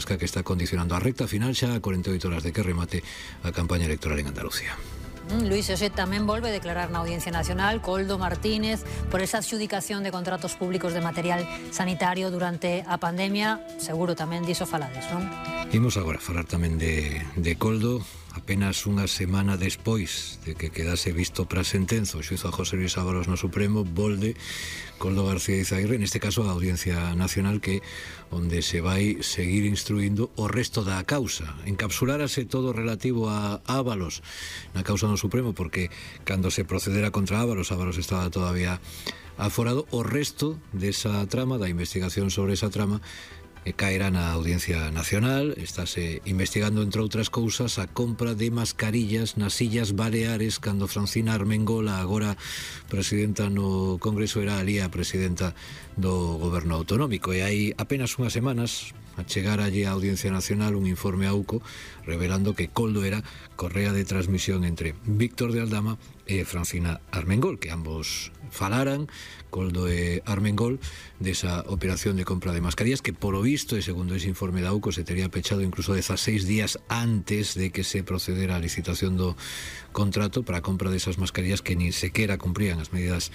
borrasca que está condicionando a recta final xa a 48 horas de que remate a campaña electoral en Andalucía. Luís José tamén volve a declarar na Audiencia Nacional. Koldo Martínez, por esa adxudicación de contratos públicos de material sanitario durante a pandemia, seguro tamén diso falades, non? Imos agora falar tamén de Koldo. Apenas unha semana despois de que quedase visto para sentenza o xuízo a José Luis Ábalos no Supremo, volve Koldo García Izaguirre, neste caso a Audiencia Nacional, que onde se vai seguir instruindo o resto da causa. Encapsulárase todo relativo a Ábalos na causa no Supremo, porque cando se procedera contra Ábalos estaba todavía aforado. O resto desa trama, da investigación sobre esa trama, caerá na Audiencia Nacional. Estáse investigando, entre outras cousas, a compra de mascarillas nas Illas Baleares, cando Francina Armengol, agora presidenta no Congreso, era ali a presidenta do Goberno Autonómico. E hai apenas unhas semanas a chegar allí a Audiencia Nacional un informe a UCO revelando que Koldo era correa de transmisión entre Víctor de Aldama e Francina Armengol, que ambos falaran, Koldo e Armengol, desa operación de compra de mascarillas que, polo visto, e segundo ese informe da UCO, se tería pechado incluso 16 días antes de que se procedera a licitación do contrato para a compra desas mascarillas, que nin sequera cumprían as medidas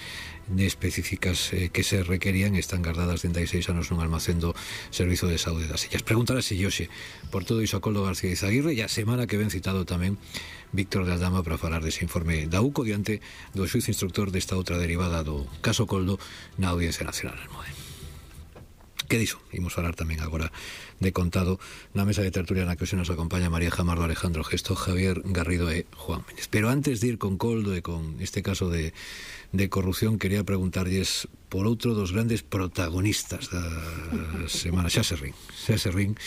específicas que se requerían, e están guardadas dende hai 6 anos nun almacén do Servizo de Saúde das Illas. Preguntarase Yoxe por todo iso a Koldo García Izaguirre, e a semana que ven citado tamén Víctor de Aldama para falar dese informe da UCO diante do xuízo instructor desta outra derivada do caso Koldo na Audiencia Nacional. Que diso? Imos falar tamén agora de contado na mesa de tertulia na que hoxe nos acompaña María Jamardo, Alejandro Gesto, Javier Garrido e Juan Méndez. Pero antes de ir con Koldo e con este caso de corrupción, quería preguntarlles por outro dos grandes protagonistas da semana. Xa se rin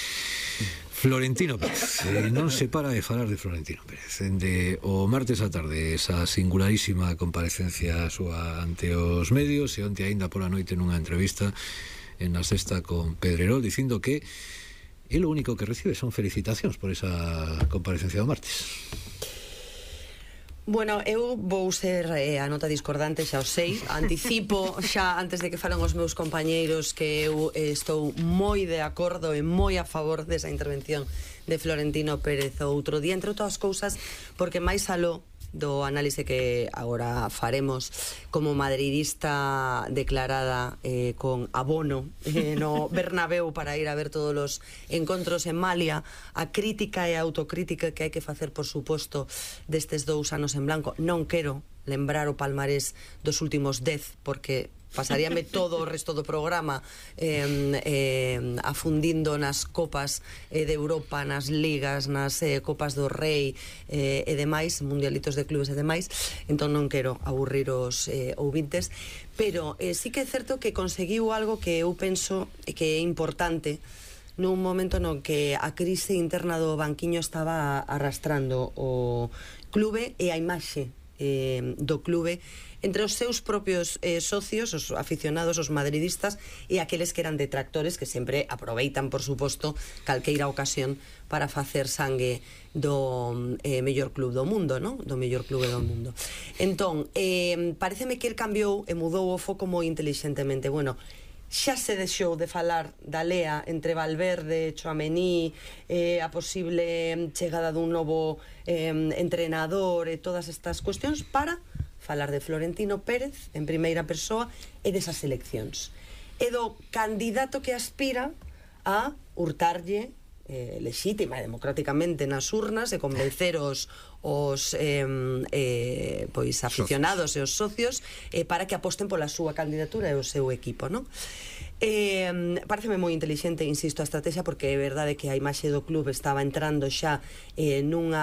Florentino Pérez. Non se para de falar de Florentino Pérez. Dende o martes á tarde, esa singularísima comparecencia súa ante os medios, e onte aínda pola noite nunha entrevista en La Sexta con Pedrerol, dicindo que lo único que recibe son felicitacións por esa comparecencia do martes. Bueno, eu vou ser a nota discordante, xa o sei. Anticipo xa, antes de que falen os meus compañeiros, que eu estou moi de acordo e moi a favor desa intervención de Florentino Pérez o outro día, entre outras cousas, porque máis aló do análise que agora faremos como madridista declarada con abono no Bernabéu para ir a ver todos os encontros en Malia, a crítica e a autocrítica que hai que facer, por suposto, destes 2 anos en blanco. Non quero lembrar o palmarés dos últimos 10, porque pasaríame todo o resto do programa afundindo nas copas de Europa, nas ligas, nas copas do Rei e demais, mundialitos de clubes e demais. Entón non quero aburrir os ouvintes, pero sí que é certo que conseguiu algo que eu penso que é importante nun momento no que a crise interna do banquiño estaba arrastrando o clube e a imaxe do clube entre os seus propios socios, os aficionados, os madridistas, e aqueles que eran detractores, que sempre aproveitan, por suposto, calqueira ocasión para facer sangue do mellor club do mundo, non? Do mellor clube do mundo. Entón, pareceme que el cambiou e mudou o foco moi intelixentemente. Bueno, xa se deixou de falar da lea entre Valverde, Tchouaméni, a posible chegada dun novo entrenador e todas estas cuestións, para falar de Florentino Pérez en primeira persoa e desas eleccións e do candidato que aspira a hurtarlle lexítima e democráticamente nas urnas e convencer os pois aficionados e os socios para que aposten pola súa candidatura e o seu equipo, non? Pareceme moi intelixente, insisto, a estrategia, porque é verdade que a imaxe do club estaba entrando xa nun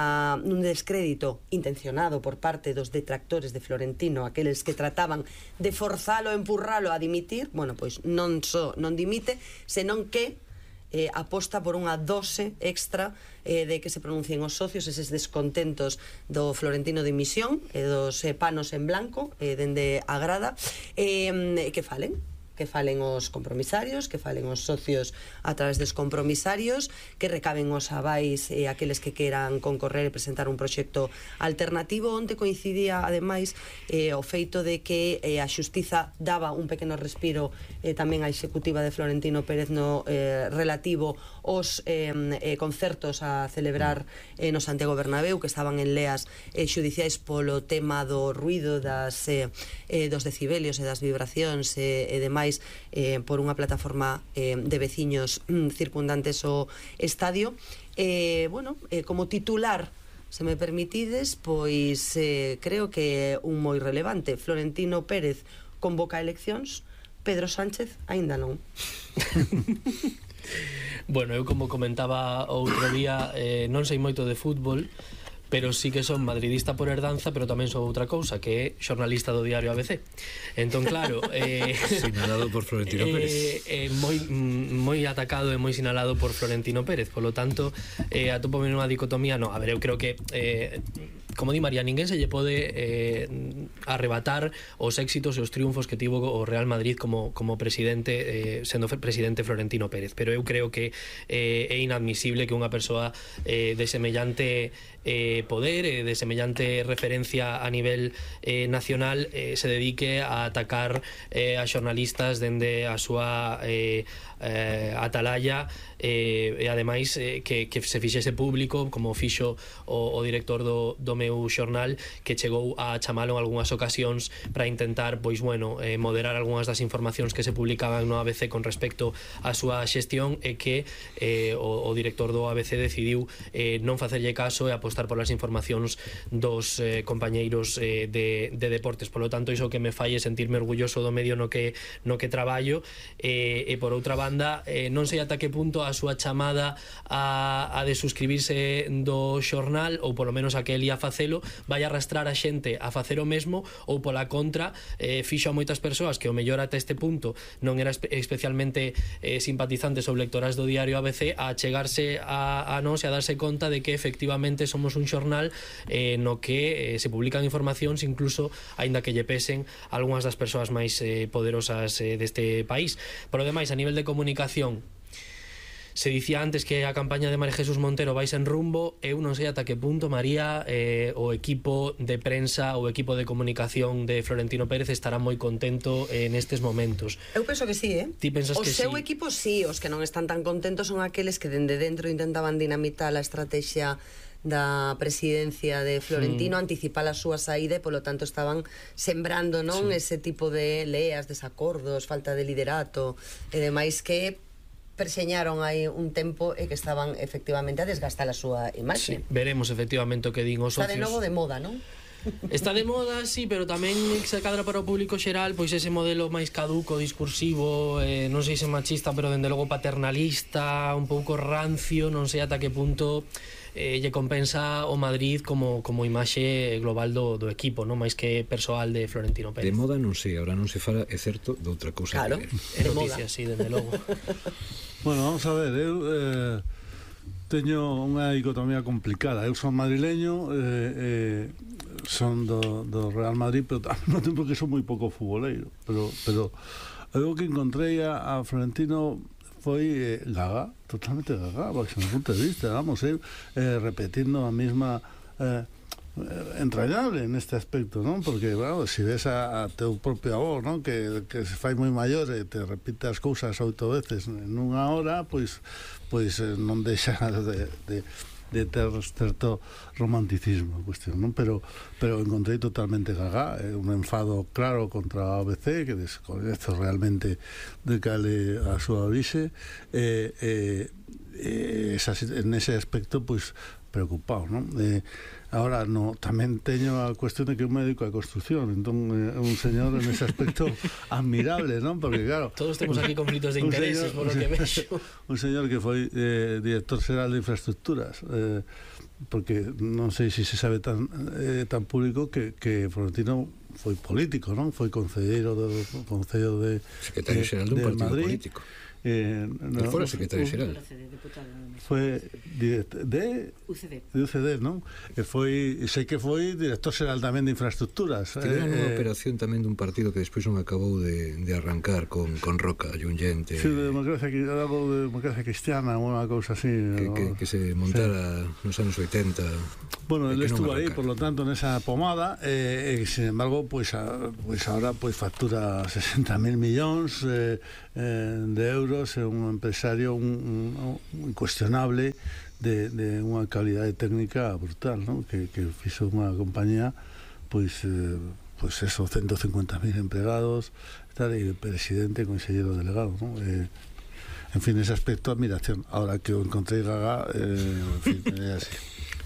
descrédito intencionado por parte dos detractores de Florentino, aqueles que trataban de forzalo, empurralo a dimitir. Bueno, pois non só non dimite, senón que aposta por unha dose extra de que se pronuncien os socios, eses descontentos do Florentino de dimisión e dos panos en blanco dende a grada, que falen que falen os compromisarios, que falen os socios a través dos compromisarios, que recaben os avais aqueles que queran concorrer e presentar un proxecto alternativo. Onte coincidía, ademais, o feito de que a Xustiza daba un pequeno respiro tamén a executiva de Florentino Pérez no relativo aos concertos a celebrar no Santiago Bernabéu, que estaban en leas xudiciais polo tema do ruido, dos decibelios e das vibracións e demais, por unha plataforma de veciños circundantes ao estadio. Como titular, se me permitides, pois creo que un moi relevante. Florentino Pérez convoca eleccións, Pedro Sánchez aínda non. Bueno, eu como comentaba outro día, non sei moito de fútbol, pero sí que son madridista por herdanza, pero tamén son outra cousa, que é xornalista do diario ABC. Entón, claro, sinalado por Florentino Pérez. Moi atacado e moi sinalado por Florentino Pérez. Polo tanto, atopo nunha dicotomía. No, a ver, eu creo que como di María, ninguén se lle pode arrebatar os éxitos e os triunfos que tivo o Real Madrid como presidente, sendo presidente Florentino Pérez, pero eu creo que é inadmisible que unha persoa de semellante poder, de semellante referencia a nivel nacional, se dedique a atacar a xornalistas dende a súa atalaya, e ademais que se fixese público, como fixo o director do meu xornal, que chegou a chamalo en algunhas ocasións para intentar, pois bueno, moderar algunhas das informacións que se publicaban no ABC con respecto á súa xestión, e que o director do ABC decidiu non facerlle caso e apostar polas informacións dos compañeiros de deportes. Por lo tanto, iso que me fai é sentirme orgulloso do medio no que traballo, e por outra banda, non sei ata que punto a súa chamada a de suscribirse do xornal, ou polo menos a que el ia facelo, vai arrastrar a xente a facer o mesmo, ou pola contra fixo a moitas persoas que o mellor ata este punto non era especialmente simpatizantes ou lectoras do diario ABC a chegarse a nós e a darse conta de que efectivamente somos un xornal no que se publican informacións, incluso aínda que lle pesen algunhas das persoas máis poderosas deste país. Por o demais, a nivel de comunicación, se dicía antes que a campaña de María Jesús Montero vai sen rumbo. Eu non sei ata que punto, María, o equipo de prensa, o equipo de comunicación de Florentino Pérez estará moi contento nestes momentos. Eu penso que sí, Ti pensas que sí? O seu equipo sí, os que non están tan contentos son aqueles que dende dentro intentaban dinamitar a estrategia da presidencia de Florentino, anticipar a súa saída, e polo tanto estaban sembrando, non, ese tipo de leas, desacordos, falta de liderato e demais, que perseñaron aí un tempo e que estaban efectivamente a desgastar a súa imaxe. Sí, veremos efectivamente o que din os socios. Está de novo de moda, non? Está de moda, sí, pero tamén se cadra para o público xeral, pois ese modelo máis caduco, discursivo, non sei se machista, pero dende logo paternalista, un pouco rancio, non sei ata que punto lle compensa o Madrid como imaxe global do equipo, non máis que persoal de Florentino Pérez. De moda non sei, ahora non se fala, é certo, de outra cousa. Claro, de noticias, sí, dende logo. Bueno, vamos a ver, eu teño unha dicotomía complicada. Eu son madrileño, son do Real Madrid, pero ao mesmo tempo que son moi pouco futboleiro, pero eu que encontrei a Florentino foi gaga, totalmente gaga, baixo o punto de vista, vamos, repetindo a mesma entrañable neste aspecto, non? Porque, bueno, se ves a teu propio avó, non? Que se fai moi maior e te repite as cousas 8 veces en unha hora, pois non deixa de ter certo romanticismo a cuestión, non? Pero encontrei totalmente gaga, un enfado claro contra a ABC, que descoñezo realmente de cale a súa orixe, en ese aspecto, pois, preocupado, non? Ahora, tamén teño a cuestión de que un médico de construcción, entón é un señor en ese aspecto admirable, non? Porque claro, todos temos aquí conflitos de intereses, por lo que vexo. Un señor que foi director xeral de infraestructuras, porque non sei se sabe tan público que Florentino foi político, non? Foi concelleiro do Concello de secretario xeral dun partido Madrid, político. El fora secretario xeral. Foi de UCD, non? Sei que foi director xeral tamén de infraestructuras. Tiveron unha operación tamén dun partido que despois non acabou de arrancar con Roca, Junyente. Sí, de democracia cristiana, unha cousa así. Que se montara nos anos 80. Bueno, él estuvo aí, por lo tanto, nesa pomada, sin embargo, pues ahora pues factura 60.000 millóns de euros, é un empresario incuestionable de unha calidade técnica brutal, ¿no? que fixo unha compañía pues eso, 150.000 empregados, tal, e presidente, consellero delegado, ¿no? En fin, ese aspecto, admiración. Ahora que o encontrei gaga, en fin, é así.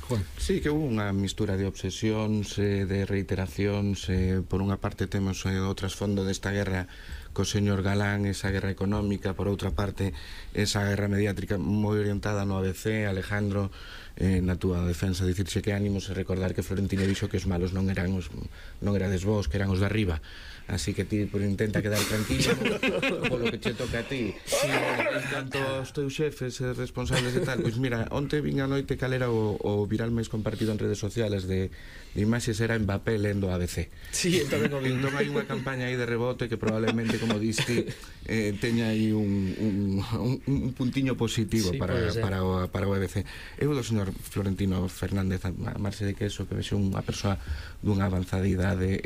Juan. Sí, que hubo unha mistura de obsesións, de reiteracións. Por unha parte temos o trasfondo desta guerra co señor Galán, esa guerra económica, por outra parte esa guerra mediática moi orientada no ABC. Alejandro, na túa defensa, dicirse que ánimos e recordar que Florentino dixo que os malos non erades vos, que eran os de arriba. Así que ti intenta quedar tranquilo polo que che toca a ti. En canto aos teus xefes responsables de tal, pois mira, onte vin a noite cal era o viral máis compartido en redes sociales de imaxes, era Mbappé lendo ABC. Sí, tamén o vi. Entón hai unha campaña aí de rebote que probablemente, como diste, teña aí un puntiño positivo, sí, para o ABC. Eu do señor Florentino Fernández Marse de Queso, que vexo unha persoa dunha avanzada idade,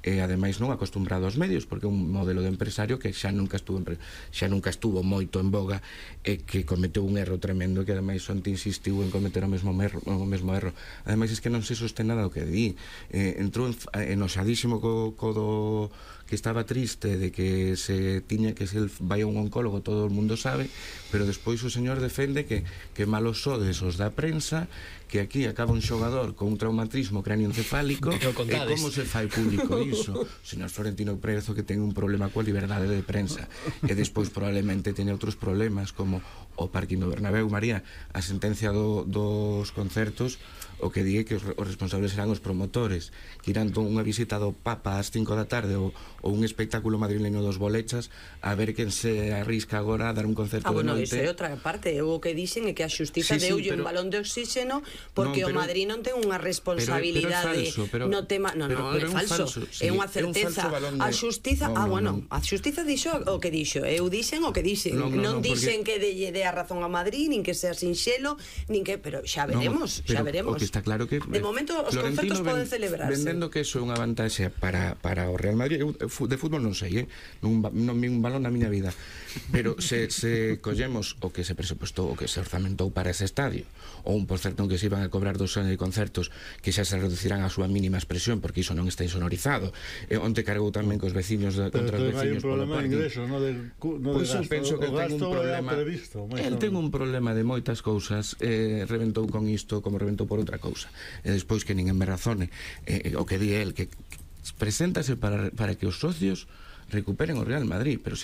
e ademais non acostumbrado aos medios, porque é un modelo de empresario que xa nunca estuvo moito en boga, e que cometeu un erro tremendo, que ademais onte insistiu en cometer o mesmo erro. Ademais é que non se sostén nada o que di. Entrou enoxadísimo co do que estaba triste de que se tiña que se vai a un oncólogo, todo o mundo sabe, pero despois o señor defende que malos sodes os da prensa, que aquí acaba un xogador con un traumatismo cráneoencefálico, e como se fai público iso? O señor Florentino Prezo, que ten un problema coa liberdade de prensa, e despois probablemente teña outros problemas, como o parking do Bernabéu. María, a sentencia dos concertos, o que di que os responsables serán os promotores, que irán unha visita do Papa ás 5 da tarde ou un espectáculo madrileño dos Bolechas, a ver quen se arrisca agora a dar un concerto de noite. Iso é outra parte. O que dixen é que a xustiza deulle un balón de oxígeno porque o Madrid non ten unha responsabilidade no tema. Non, é falso. É unha certeza. A xustiza, a xustiza dixo o que dixo. Eu dixen o que dixen. Non dixen que dé a razón a Madrid, nin que sea sinxelo, nin que, pero xa veremos, xa veremos. Está claro que de momento os concertos poden celebrarse. Vendendo que iso é unha vantaxe para o Real Madrid. Eu de fútbol non sei, non vi un balón na miña vida, pero se collemos o que se presupostou, o que se orzamentou para ese estadio, ou un concerto en que se iban a cobrar 2 anos de concertos que xa se reducirán a súa mínima expresión, porque iso non está insonorizado. Onte cargou tamén cos veciños contra os veciños polo parque. Pois eu penso que ten un problema. El ten un problema de moitas cousas, reventou con isto como reventou por outra cousa, e despois que ninguén me razone, o que di el, que preséntase para que os socios recuperen o Real Madrid, pero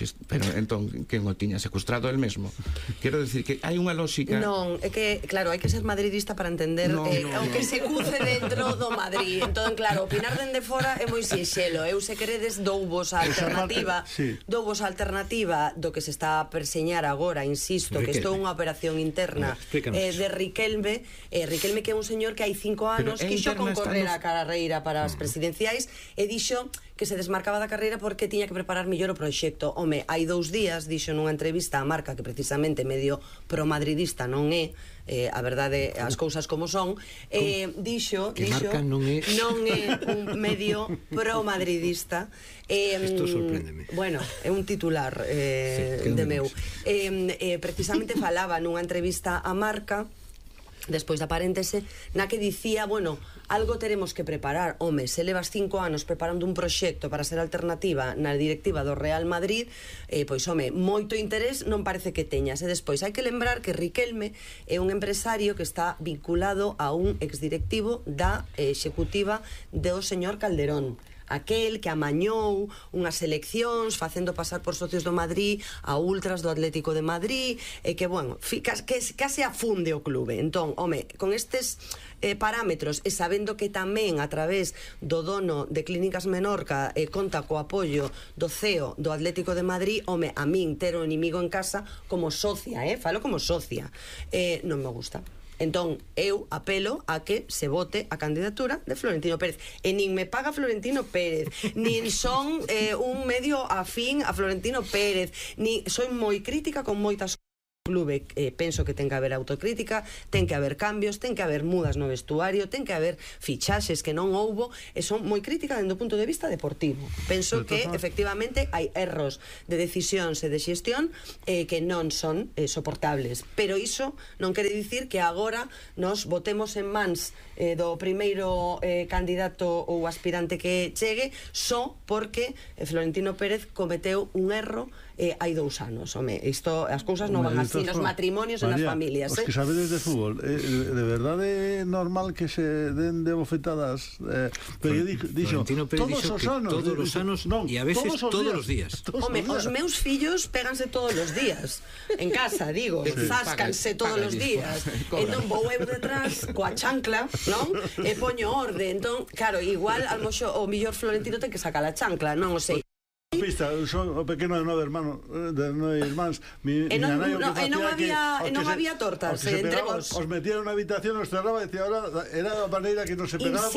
entón quen o tiña secuestrado el mesmo. Quero decir que hai unha lógica. Non, é que claro, hai que ser madridista para entender o que se cuce dentro do Madrid. Entón, claro, opinar dende fora é moi sinxelo. Eu, se queredes, douvos a alternativa, do que se está a perseñar agora, insisto, que isto é unha operación interna de Riquelme, que é un señor que hai 5 anos quixo concorrer a carreira para as presidenciais e dixo que se desmarcaba da carreira porque tiña que preparar mellor o proxecto. Home, hai 2 días dixo nunha entrevista a Marca que precisamente medio promadridista non é, a verdade, as cousas como son, dixo que Marca non é un medio promadridista. Isto sorpréndeme. Bueno, é un titular de meu. Precisamente falaba nunha entrevista a Marca despois da paréntese, na que dicía, bueno, algo teremos que preparar. Home, se levas 5 anos preparando un proxecto para ser alternativa na directiva do Real Madrid, pois, home, moito interés non parece que teñas. E despois hai que lembrar que Riquelme é un empresario que está vinculado a un exdirectivo da executiva do señor Calderón. aquel que amañou unhas eleccións facendo pasar por socios do Madrid a ultras do Atlético de Madrid, e que, bueno, que case afunde o clube. Entón, home, con estes parámetros e sabendo que tamén a través do dono de Clínicas Menorca conta co apoio do CEO do Atlético de Madrid, home, a min ter o inimigo en casa como socia, falo como socia, non me gusta. Entón, eu apelo a que se vote a candidatura de Florentino Pérez. E nin me paga Florentino Pérez, nin son un medio afín a Florentino Pérez, nin soy moi crítica con moitas clube, penso que ten que haber autocrítica, ten que haber cambios, ten que haber mudas no vestuario, ten que haber fichaxes que non houbo, e son moi crítica dentro do punto de vista deportivo. Penso que efectivamente hai erros de decisións e de xestión que non son soportables, pero iso non quere dicir que agora nos botemos en mans do primeiro candidato ou aspirante que chegue só porque Florentino Pérez cometeu un erro hai 2 anos. Home, isto, as cousas non van así nos matrimonios e nas familias. Os que sabedes de fútbol, de verdade é normal que se den de bofetadas, pero dixo, todos os anos, e a veces todos os días. Home, os meus fillos péganse todos os días en casa, digo, záscanse todos os días. Entón vou eu detrás coa chancla, non? E poño orde. Entón, claro, igual o millor Florentino ten que sacar a chancla, non o sei. Pista, son o pequeno de 9 hermanos, de 9 irmáns. E non había tortas entre vos. Os metieron na habitación, os cerraba e decía, ahora era a maneira que non se pegaba.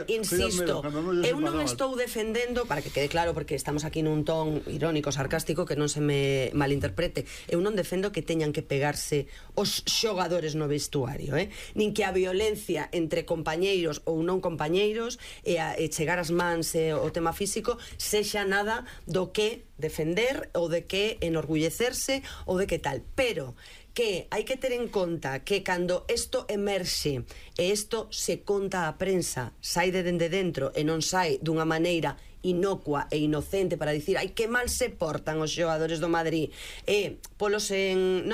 Insisto, eu non estou defendendo, para que quede claro, porque estamos aquí nun ton irónico, sarcástico, que non se me malinterprete, eu non defendo que teñan que pegarse os xogadores no vestuario, nin que a violencia entre compañeiros ou non compañeiros e chegar as mans e o tema físico sexa nada do que defender ou de que enorgullecerse ou de que tal, pero que hai que ter en conta que cando isto emerxe e isto se conta á prensa, sai de dende dentro e non sai dunha maneira inocua e inocente para dicir ai que mal se portan os xogadores do Madrid e polos en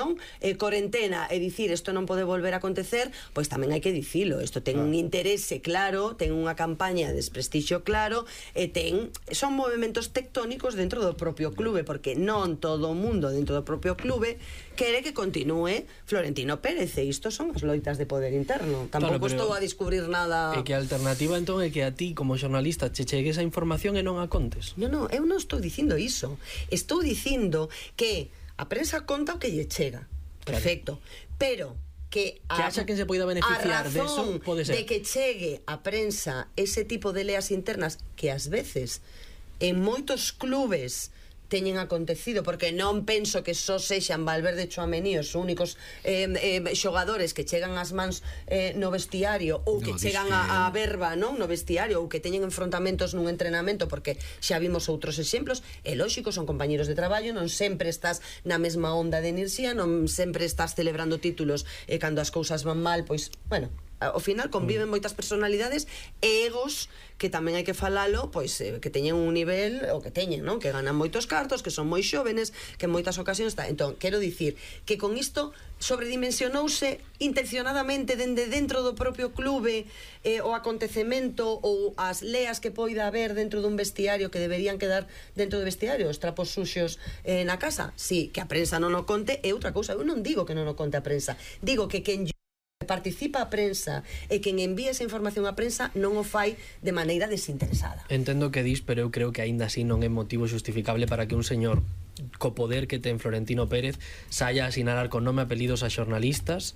corentena e dicir isto non pode volver a acontecer, pois tamén hai que dicilo, isto ten un interese claro, ten unha campaña de desprestixio claro e son movimentos tectónicos dentro do propio clube, porque non todo o mundo dentro do propio clube quere que continúe Florentino Pérez, e isto son as loitas de poder interno. Tampouco estou a descubrir nada. E que a alternativa entón é que a ti como xornalista che chegue esa información e non a contes. Non, eu non estou dicindo iso. Estou dicindo que a prensa conta o que lle chega. Perfecto. Pero que haxa quen se poida beneficiar de eso, pode ser. De que chegue a prensa ese tipo de leas internas que ás veces en moitos clubes teñen acontecido, porque non penso que só sexan Valverde e Tchouaméni os únicos xogadores que chegan ás mans no vestiario ou que chegan a verba no vestiario ou que teñen enfrontamentos nun entrenamento, porque xa vimos outros exemplos. É lógico, son compañeros de traballo, non sempre estás na mesma onda de enerxía, non sempre estás celebrando títulos e cando as cousas van mal, pois, bueno, ao final conviven moitas personalidades e egos que tamén hai que falalo, pois que teñen un nivel o que teñen, non? Que ganan moitos cartos, que son moi xóvenes, que en moitas ocasións está. Entón, quero dicir que con isto sobredimensionouse intencionadamente dende dentro do propio clube o acontecemento ou as leas que poida haber dentro dun vestiario que deberían quedar dentro do vestiario, os trapos suxos na casa. Si, que a prensa non o conte é outra cousa. Eu non digo que non o conte a prensa, digo que quen participa a prensa e quen envía esa información á prensa non o fai de maneira desinteresada. Entendo que dis, pero eu creo que aínda así non é motivo xustificable para que un señor co poder que ten Florentino Pérez saia a sinalar con nome e apelidos a xornalistas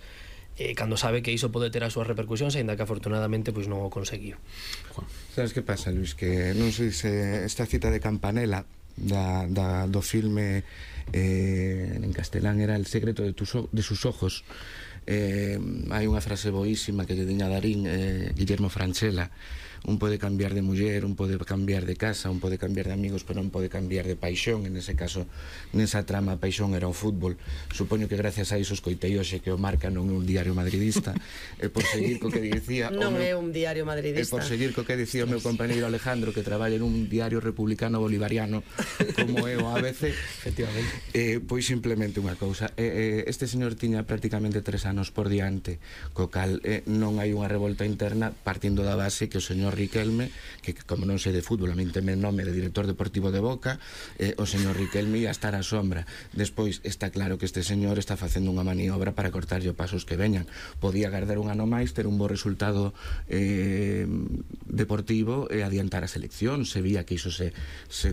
cando sabe que iso pode ter as súas repercusións, aínda que afortunadamente pois non o conseguiu. Sabes que pasa, Luis? Que non sei se esta cita de Campanella do filme en castelán era El secreto de sus ojos. Hai unha frase boísima que lle diña Darín, Guillermo Francella: un pode cambiar de muller, un pode cambiar de casa, un pode cambiar de amigos, pero non pode cambiar de paixón. En ese caso, nesa trama, a paixón era o fútbol. Supoño que gracias a iso escoitei hoxe que o Marca non é un diario madridista, e por seguir co que dicía non é un diario madridista, e por seguir co que dicía o meu compañeiro Alejandro, que traballa nun diario republicano bolivariano como é o ABC, efectivamente, pois simplemente unha cousa, este señor tiña prácticamente 3 anos por diante, co cal non hai unha revolta interna, partindo da base que o señor señor Riquelme, que como non sei de fútbol, a min teme nome de director deportivo de Boca, o señor Riquelme ia estar á sombra. Despois está claro que este señor está facendo unha maniobra para cortarlle os pasos que veñan. Podía agardar un ano máis, ter un bo resultado deportivo e adiantar a selección. Se vía que iso se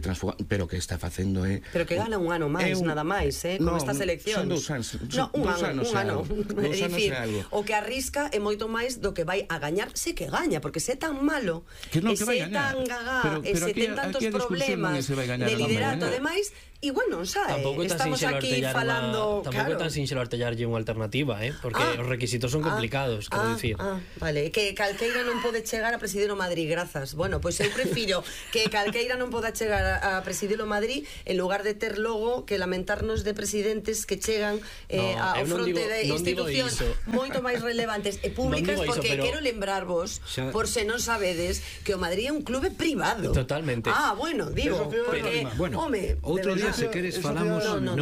transforma, pero que está facendo pero que gana un ano máis, nada máis, con esta selección. Son 2 anos. Un ano. É dicir, o que arrisca é moito máis do que vai a gañar, se que gaña, porque se é tan malo, que non, e se é tan gagá, e se ten tantos problemas de liderato, ademais, igual non sabe. Estamos aquí falando, tampouco é tan sinxelo artellarlle unha alternativa, porque os requisitos son complicados, quero dicir. Vale, que calqueira non pode chegar a presidir o Madrid, grazas. Bueno, pois eu prefiro que calqueira non poda chegar a presidir o Madrid en lugar de ter logo que lamentarnos de presidentes que chegan ao fronte de institucións moito máis relevantes e públicas, porque quero lembrarvos, por se non sabedes, que o Madrid é un clube privado. Totalmente. Bueno, digo, porque, bueno, outro día, se queres, falamos